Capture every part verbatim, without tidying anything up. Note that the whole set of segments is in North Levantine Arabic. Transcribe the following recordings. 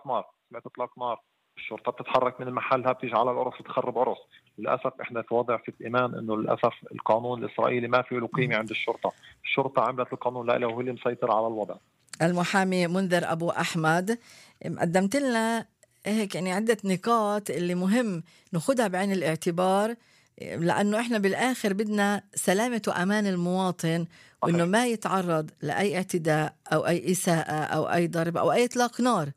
نار، سمعت إطلاق نار، الشرطة بتتحرك من محلها بتيجي على العرس تخرب عرس. للأسف إحنا في وضع في إيمان إنه للأسف القانون الإسرائيلي ما فيه له قيمة عند الشرطة. الشرطة عملت القانون لا وهو اللي مسيطر على الوضع. المحامي منذر أبو أحمد، قدمت لنا هيك يعني عدة نقاط اللي مهم ناخدها بعين الاعتبار، لأنه إحنا بالآخر بدنا سلامة وأمان المواطن، وإنه ما يتعرض لأي اعتداء أو أي إساءة أو أي ضرب أو أي إطلاق نار.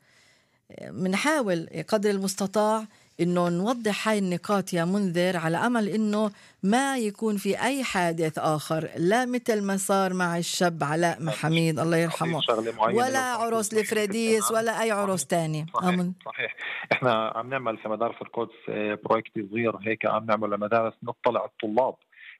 منحاول قدر المستطاع إنه نوضح هاي النقاط يا منذر، على أمل إنه ما يكون في أي حادث آخر، لا مثل ما صار مع الشاب علاء محميد الله يرحمه، ولا عرس لفريديس ولا أي عرس تاني. صحيح. صحيح. إحنا عم نعمل في مدارس القدس بروجكت صغير هيك، عم نعمل لمدارس نطلع الطلاب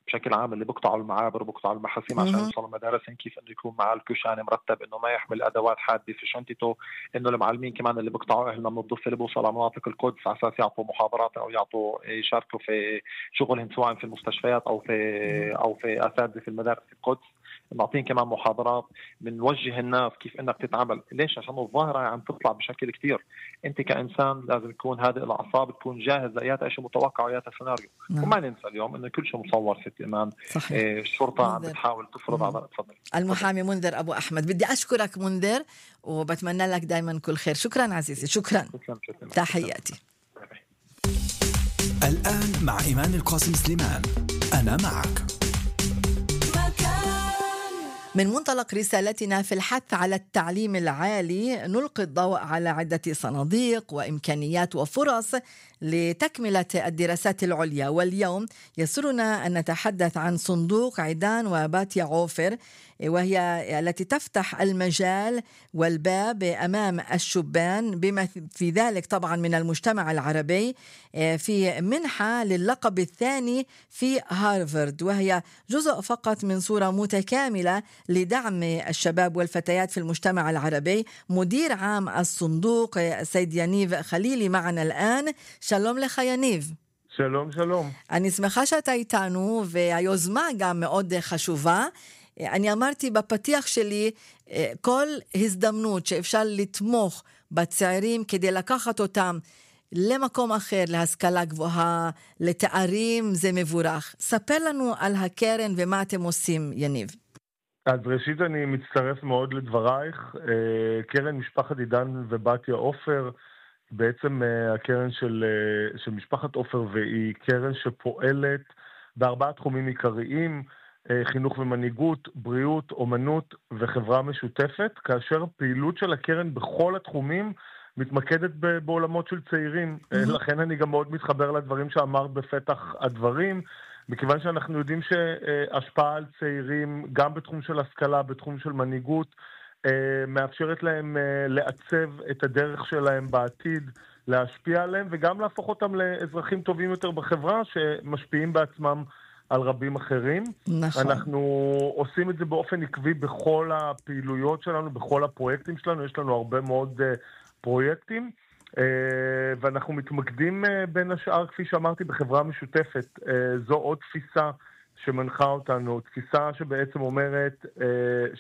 بشكل عام اللي بقطعوا المعابر وبقطعوا المحاسيم عشان يوصلوا المدارس، كيف انه يكون معاه الكشان مرتب، انه ما يحمل ادوات حاده في شنطته، انه المعلمين كمان اللي بقطعوا اهلنا من الضفه اللي بوصلوا على مناطق القدس على اساس يعطوا محاضرات او يعطوا يشاركوا في شغلهم سواء في المستشفيات او في او في اساتذه في المدارس القدس، نعطيهم كمان محاضرات، بنوجه الناس كيف انك تتعامل. ليش؟ عشان الظاهره عم تطلع بشكل كتير. انت كانسان لازم تكون هادئ الاعصاب، تكون جاهز لايات شيء متوقع وايات سيناريو. نعم. وما ننسى اليوم انه كل شيء مصور في الامان. إيه الشرطه عم بتحاول تفرض على تفضل. المحامي منذر ابو احمد، بدي اشكرك منذر وبتمنى لك دائما كل خير. شكرا عزيزي، شكرا, شكرا. شكرا. تحياتي. الآن مع إيمان القاسم سليمان، أنا معك. من منطلق رسالتنا في الحث على التعليم العالي، نلقي الضوء على عدة صناديق وإمكانيات وفرص لتكملة الدراسات العليا. واليوم يسرنا أن نتحدث عن صندوق عيدان وباتيا عوفر، وهي التي تفتح المجال والباب أمام الشبان بما في ذلك طبعا من المجتمع العربي في منحة للقب الثاني في هارفارد، وهي جزء فقط من صورة متكاملة لدعم الشباب والفتيات في المجتمع العربي. مدير عام الصندوق السيد יניב חלילי معنا الآن. שלום לך יניב. שלום, שלום. אני שמחה שאתה איתנו, והיוזמה גם מאוד חשובה. אני אמרתי בפתיח שלי, כל הזדמנות שאפשר לתמוך בצעירים כדי לקחת אותם למקום אחר, להשכלה גבוהה, לתארים, זה מבורך. ספר לנו על הקרן ומה אתם עושים, יניב. אז ראשית אני מצטרף מאוד לדברייך. קרן משפחת עידן ובתיה עופר, בעצם הקרן של, של משפחת עופר, והיא קרן שפועלת בארבעה תחומים עיקריים: חינוך ומנהיגות, בריאות, אומנות וחברה משותפת, כאשר פעילות של הקרן בכל התחומים מתמקדת בעולמות של צעירים. Mm-hmm. לכן אני גם מאוד מתחבר לדברים שאמרת בפתח הדברים, מכיוון שאנחנו יודעים שהשפעה על צעירים גם בתחום של השכלה, בתחום של מנהיגות, מאפשרת להם לעצב את הדרך שלהם בעתיד, להשפיע עליהם וגם להפוך אותם לאזרחים טובים יותר בחברה שמשפיעים בעצמם על רבים אחרים. נכון. אנחנו עושים את זה באופן עקבי בכל הפעילויות שלנו, בכל הפרויקטים שלנו. יש לנו הרבה מאוד פרויקטים, ואנחנו מתמקדים בין השאר, כפי שאמרתי, בחברה משותפת. זו עוד תפיסה שמנחה אותנו, תפיסה שבעצם אומרת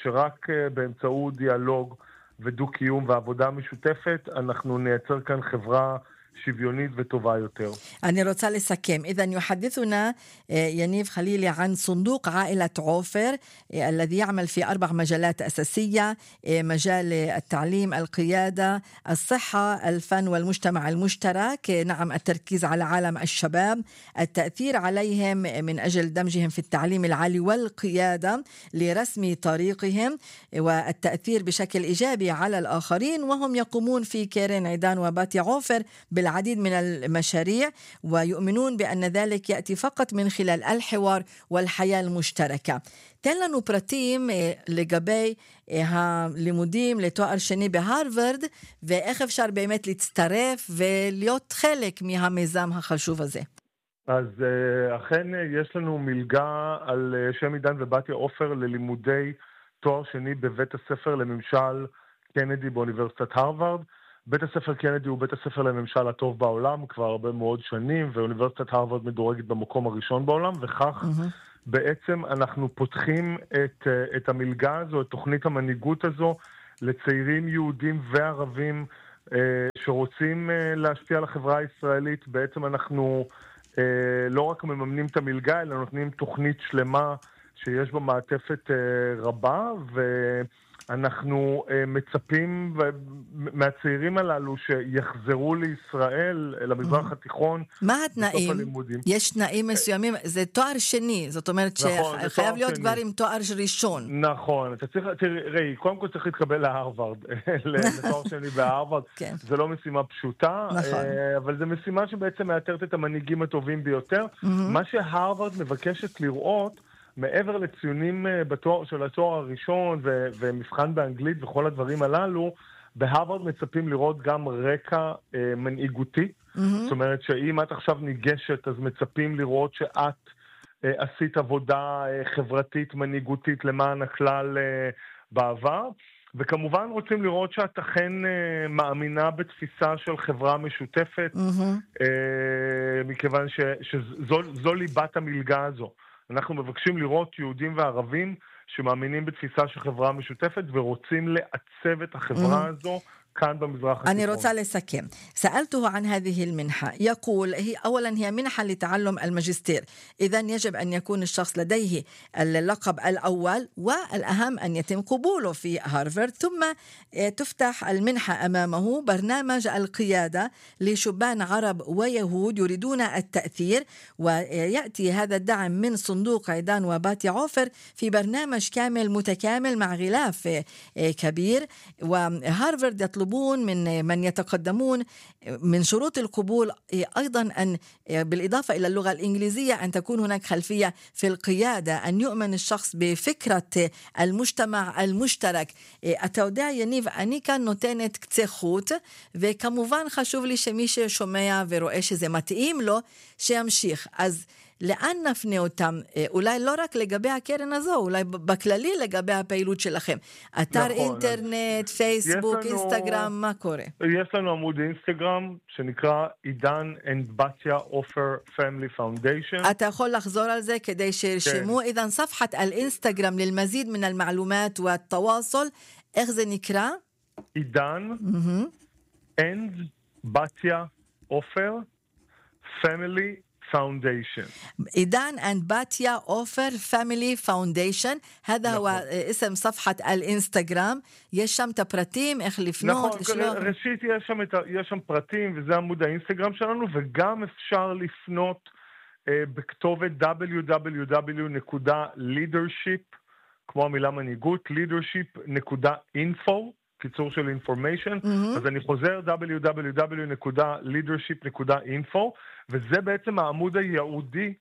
שרק באמצעות דיאלוג ודו-קיום ועבודה משותפת אנחנו נייצר כאן חברה שוויונית וטובה יותר. אני רוצה לסכם. إذن يحدثنا يניב חלילי عن صندوق عائلة عوفر الذي يعمل في أربع مجالات أساسية: مجال التعليم، القيادة، الصحة، الفن والمجتمع المشترك. نعم، التركيز على عالم الشباب، التأثير عليهم من أجل دمجهم في التعليم العالي والقيادة لرسم طريقهم، والتأثير بشكل إيجابي على الآخرين. وهم يقومون في كيرن عيدان وباتيا عوفر بالعديد من المشاريع، ويؤمنون بأن ذلك يأتي فقط من خلال الحوار والحياة المشتركة. תן לנו פרטים לגבי הלימודים לתואר שני בהרווארד, ואיך אפשר באמת להצטרף ולהיות חלק מהמיזם החשוב הזה. אז אכן יש לנו מלגה על שם עידן ובתיה עופר ללימודי תואר שני בבית הספר לממשל קנדי באוניברסיטת הרווארד. בית הספר קנדי הוא בית הספר לממשל הטוב בעולם כבר הרבה מאוד שנים, ואוניברסיטת הרווארד מדורגת במקום הראשון בעולם, וכך mm-hmm. בעצם אנחנו פותחים את, את המלגה הזו, את תוכנית המנהיגות הזו, לצעירים יהודים וערבים שרוצים להשפיע על החברה הישראלית. בעצם אנחנו לא רק מממנים את המלגה, אלא נותנים תוכנית שלמה שיש בה מעטפת רבה, ואנחנו מצפים מהצעירים הללו שיחזרו לישראל, למזרח התיכון. מה התנאים? יש תנאים מסוימים, זה תואר שני, זאת אומרת שחייב להיות כבר עם תואר ראשון. נכון, אתה צריך, תראי, קודם כל צריך להתקבל להרווארד, לתואר שני בהרווארד, זה לא משימה פשוטה, אבל זה משימה שבעצם מאתרת את המנהיגים הטובים ביותר. מה שהרווארד מבקשת לראות, מעבר לציונים בתואר, של התואר הראשון ו- ומבחן באנגלית וכל הדברים הללו, בהרווארד מצפים לראות גם רקע אה, מנהיגותי. Mm-hmm. זאת אומרת שאם את עכשיו ניגשת, אז מצפים לראות שאת אה, עשית עבודה אה, חברתית, מנהיגותית למען הכלל אה, בעבר. וכמובן רוצים לראות שאת אכן אה, מאמינה בתפיסה של חברה משותפת, mm-hmm. אה, מכיוון ש- שזו זו ליבת המלגה הזו. אנחנו מבקשים לראות יהודים וערבים שמאמינים בתפיסה של חברה משותפת ורוצים לעצב את החברה הזו كان بمزرعة التكون. أنا רוצה לסכם. سألته عن هذه المنحة. يقول هي أولا هي منحة لتعلم الماجستير، إذن يجب أن يكون الشخص لديه اللقب الأول، والأهم أن يتم قبوله في هارفارد، ثم تفتح المنحة أمامه برنامج القيادة لشبان عرب ويهود يريدون التأثير، ويأتي هذا الدعم من صندوق عيدان وباتيا عوفر في برنامج كامل متكامل مع غلاف كبير. وهارفارد يطلب يطلبون من من يتقدمون من شروط القبول أيضا أن بالإضافة إلى اللغة الإنجليزية أن تكون هناك خلفية في القيادة، أن يؤمن الشخص بفكرة المجتمع المشترك. אתה יודע יניב, אני כאן נותנת קצה חוט, וכמובן חשוב לי שמי ששומע ורואה שזה מתאים לו שימשיך. אז לאן נפנה אותם? אולי לא רק לגבי הקרן הזו, אולי בכללי לגבי הפעילות שלכם. אתר נכון, אינטרנט, פייסבוק, לנו, אינסטגרם, מה קורה? יש לנו עמוד אינסטגרם שנקרא עידן and בתיה עופר פמילי פאונדיישן. אתה יכול לחזור על זה כדי שירשמו. כן. إذن صفحة الإنستغرام للمزيد من المعلومات والتواصل. איך זה נקרא? עידן mm-hmm. and בתיה עופר פמילי فاونديشن. إيدان أند باتيا أوفر فاميلي فاونديشن، هذا نحن. هو اسم صفحة الإنستغرام. יש שם את הפרטים, איך לפנות, לשלוח. נכון, ראשית יש שם, את, יש שם פרטים, וזה עמוד האינסטגרם שלנו, וגם אפשר לפנות אה, בכתובת דאבליו דאבליו דאבליו נקודה לידרשיפ, כמו המילה מנהיגות, לידרשיפ נקודה אינפו, קיצור של information, mm-hmm. אז אני חוזר דאבליו דאבליו דאבליו נקודה לידרשיפ נקודה אינפו, וזה בעצם העמוד הייעודי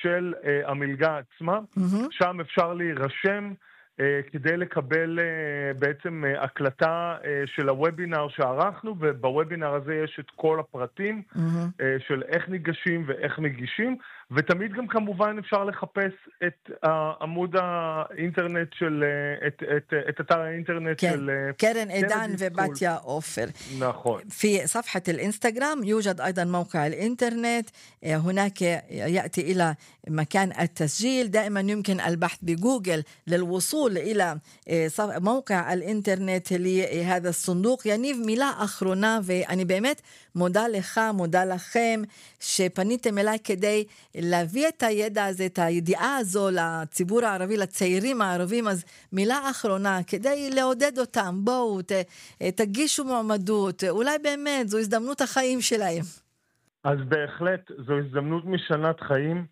של uh, המלגה עצמה, mm-hmm. שם אפשר להירשם uh, כדי לקבל uh, בעצם uh, הקלטה uh, של הוובינר שערכנו, ובוובינר הזה יש את כל הפרטים mm-hmm. uh, של איך ניגשים ואיך מגישים, ותמיד גם כמובן אפשר לחפש את uh, עמוד האינטרנט של, uh, את, את, uh, את אתר האינטרנט כן. של... Uh, קרן עידן ובתיה עופר. נכון. في صفحة الإنستغرام يوجد أيضا موقع الإنترنت، هناك يأتي إلى مكان التسجيل، دائما يمكن البحث بجوجل للوصول إلى موقع الإنترنت لهذا الصندوق. יניב, מילה אחרונה, ואני באמת מודה לך, מודה לכם שפניתם אליי כדי להביא את הידע הזה, את הידיעה הזו לציבור הערבי, לצעירים הערבים. אז מילה אחרונה כדי לעודד אותם, בואו ת, תגישו מועמדות, אולי באמת זו הזדמנות החיים שלהם. אז בהחלט זו הזדמנות משנת חיים.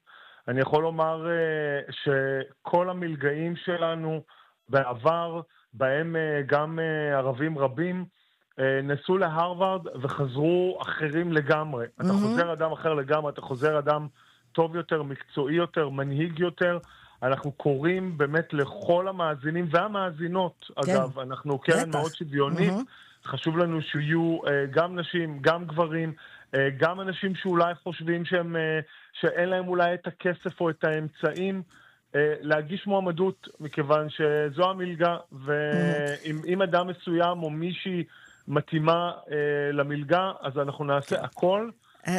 אני יכול לומר uh, שכל המלגאים שלנו בעבר, בהם uh, גם uh, ערבים רבים, uh, נסו להרווארד וחזרו אחרים לגמרי. Mm-hmm. אתה חוזר אדם אחר לגמרי, אתה חוזר אדם טוב יותר, מקצועי יותר, מנהיג יותר. אנחנו קוראים באמת לכל המאזינים והמאזינות, כן. אגב, אנחנו קרן בטח. מאוד שוויונית, mm-hmm. חשוב לנו שיהיו uh, גם נשים, גם גברים, uh, גם אנשים שאולי חושבים שהם, uh, שאין להם אולי את הכסף או את האמצעים, uh, להגיש מועמדות, מכיוון שזו המלגה, ואם mm-hmm. אדם מסוים או מישהי מתאימה uh, למלגה, אז אנחנו נעשה הכל,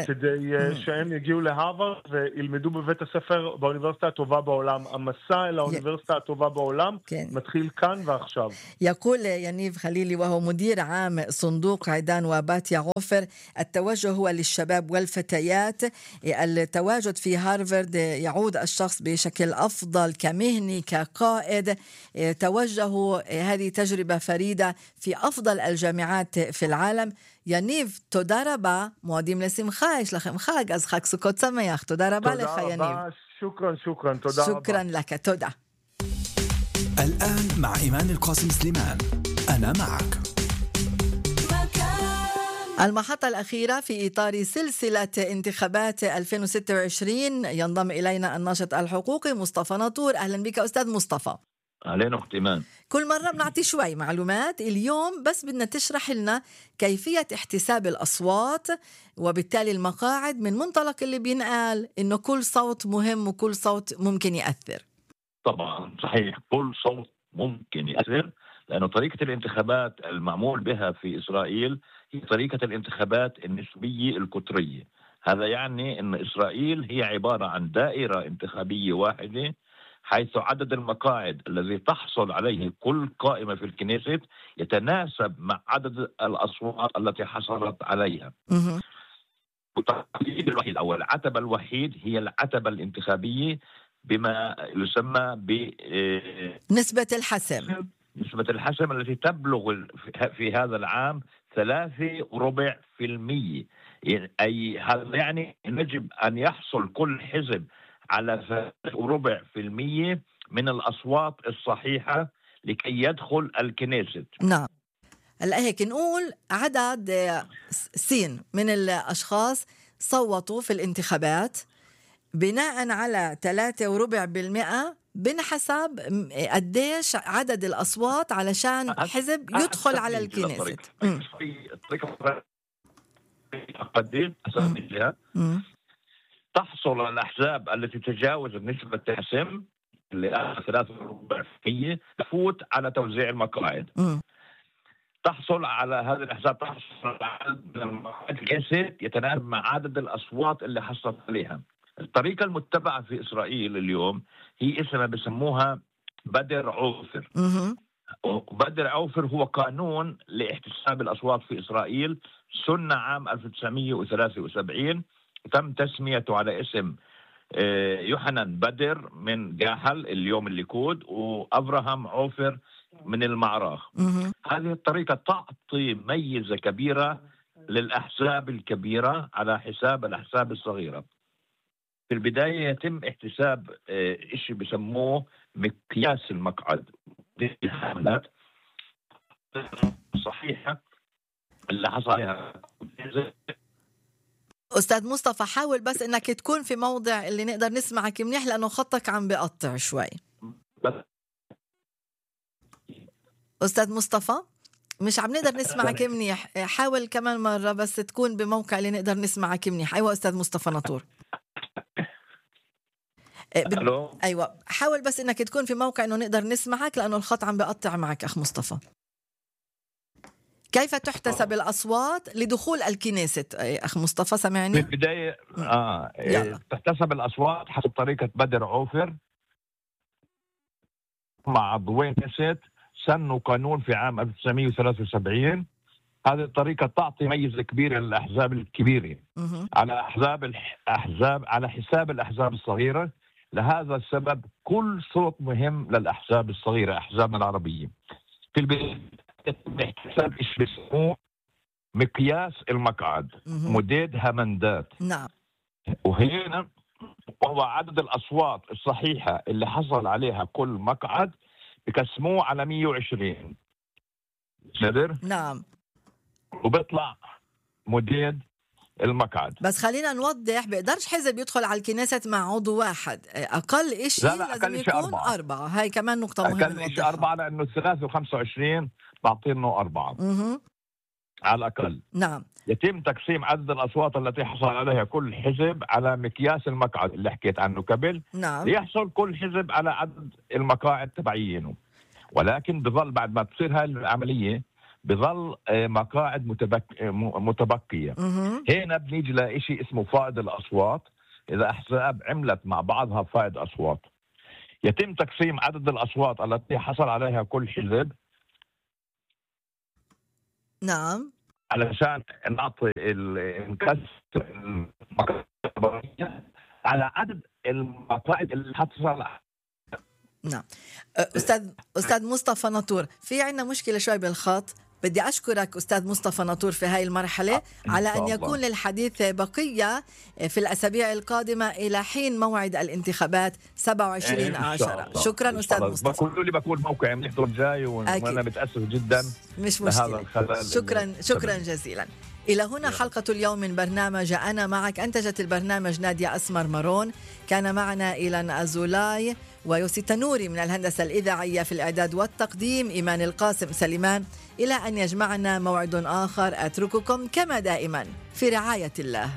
כדי שהם יגיעו להרווארד וילמדו בבית הספר באוניברסיטה הטובה בעולם. המסע אל האוניברסיטה הטובה בעולם מתחיל כאן ועכשיו. يقول ينيف خليلي وهو مدير عام صندوق عيدان وباتيا عوفر: التوجه هو للشباب والفتيات. التواجد في هارفارد يعود الشخص بشكل أفضل كمهني كقائد. توجهوا هذه تجربة فريدة في أفضل الجامعات في العالم. יניב, תודה רבה, מועדים לשמחה, יש לכם חג, אז חג סוכות שמח, תודה רבה לך יניב. תודה רבה, שוקרן, שוקרן, תודה רבה. שוקרן לך, תודה. الآن مع إيمان القاسم سليمان، أنا معك. المحطة الأخيرة في إطار سلسلة انتخابات ألفين وستة وعشرين ينضم إلينا الناشط الحقوقي مصطفى ناطور. أهلا بك أستاذ مصطفى. أهلين أخت إيمان. كل مرة بنعطي شوي معلومات، اليوم بس بدنا تشرح لنا كيفية احتساب الأصوات وبالتالي المقاعد من منطلق اللي بينقال إنه كل صوت مهم وكل صوت ممكن يأثر. طبعا صحيح، كل صوت ممكن يأثر، لأنه طريقة الانتخابات المعمول بها في إسرائيل هي طريقة الانتخابات النسبية القطرية. هذا يعني أن إسرائيل هي عبارة عن دائرة انتخابية واحدة، حيث عدد المقاعد الذي تحصل عليه كل قائمة في الكنيست يتناسب مع عدد الأصوات التي حصلت عليها. التقييد الوحيد أو العتبة الوحيد هي العتبة الانتخابية بما يسمى ب نسبة الحسم. نسبة الحسم التي تبلغ في هذا العام ثلاثة وربع في المية. أي هذا يعني يجب أن يحصل كل حزب على ثلاثة وربع في المية من الأصوات الصحيحة لكي يدخل الكنيست. نعم. هلا هيك نقول عدد سين من الأشخاص صوتوا في الانتخابات بناء على ثلاثة وربع بالمئة بنحسب قديش عدد الأصوات علشان حزب يدخل على الكنيست. تحصل الأحزاب التي تجاوزت نسبة الحسم اللي ثلاثة وربع في المية تفوت على توزيع المقاعد. م. تحصل على هذه الأحزاب تحصل على عدد من المقاعد الكنيست يتناسب مع عدد الأصوات اللي حصلت عليها. الطريقة المتبعة في إسرائيل اليوم هي اسمها بسموها بدر عوفر. بدر عوفر هو قانون لاحتساب الأصوات في إسرائيل، سنة عام ألف وتسعمائة وثلاثة وسبعين، تم تسميته على اسم يوحنان بدر من جاحل اليوم الليكود وأبراهام عوفر من المعراخ. هذه الطريقة تعطي ميزة كبيرة للأحزاب الكبيرة على حساب الأحزاب الصغيرة. في البداية يتم احتساب إشي بسموه مقياس المقعد، دي الحملات صحيحة اللي حصل عليها. أستاذ مصطفى حاول بس إنك تكون في موضع اللي نقدر نسمعك منيح لأنه خطك عم بيقطع شوي. أستاذ مصطفى مش عم نقدر نسمعك منيح، حاول كمان مرة بس تكون بموقع اللي نقدر نسمعك منيح. أيوة أستاذ مصطفى ناطور. ألو. أيوة حاول بس إنك تكون في موقع إنه نقدر نسمعك لأنه الخط عم بيقطع معك أخ مصطفى. كيف تحتسب الأصوات لدخول الكنيست أخ مصطفى سمعني؟ في البداية آه تحتسب الأصوات حسب طريقة بدر عوفر مع عضوين كنيست سنوا قانون في عام ألف وتسعمائة وثلاثة وسبعين. هذه الطريقة تعطي ميزة كبيرة للأحزاب الكبيرة على أحزاب الأحزاب على حساب الأحزاب الصغيرة. لهذا السبب كل صوت مهم للأحزاب الصغيرة أحزابنا العربية. في البداية احتساب ايش بيسموه مقياس المقعد، مداد همندات. نعم. وهنا هو عدد الأصوات الصحيحة اللي حصل عليها كل مقعد بقسموه على مئة وعشرين. قدر؟ نعم. وبيطلع مداد المقعد. بس خلينا نوضح، بيقدرش حزب يدخل على الكنيسة مع عضو واحد، أقل إشي لا لا لازم أقل يكون أربعة. أربعة. هاي كمان نقطة مهمة. أقل إشي أربعة لأنه ثلاثة وخمسة وعشرين بعطينه أربعة مه. على الأقل. نعم. يتم تقسيم عدد الأصوات التي حصل عليها كل حزب على مقياس المقعد اللي حكيت عنه قبل. نعم. ليحصل كل حزب على عدد المقاعد تبعينه، ولكن بظل بعد ما تصير هاي العملية بظل مقاعد متبك... متبقية. هنا بنيجي لإشي اسمه فائض الأصوات. إذا أحزاب عملت مع بعضها فائض أصوات، يتم تقسيم عدد الأصوات التي حصل عليها كل حزب. نعم. علشان نعطي الكسر على عدد المقاعد اللي حصل. نعم. أستاذ أستاذ مصطفى ناطور، في عنا مشكلة شوي بالخط. بدي أشكرك أستاذ مصطفى ناطور في هاي المرحلة على أن يكون للحديث بقية في الأسابيع القادمة إلى حين موعد الانتخابات سبعة وعشرين عشرة. شكرا أستاذ مصطفى. بقول لي بكون موقع منحضر جاي وأنا متأسف جدا. مش مشكلة. شكرا شكرا جزيلا. إلى هنا حلقة اليوم من برنامج أنا معك. أنتجت البرنامج نادية أسمر مارون، كان معنا إيلان أزولاي ويوسي تنوري من الهندسة الإذاعية، في الإعداد والتقديم إيمان القاسم سليمان. إلى أن يجمعنا موعد آخر، أترككم كما دائما في رعاية الله.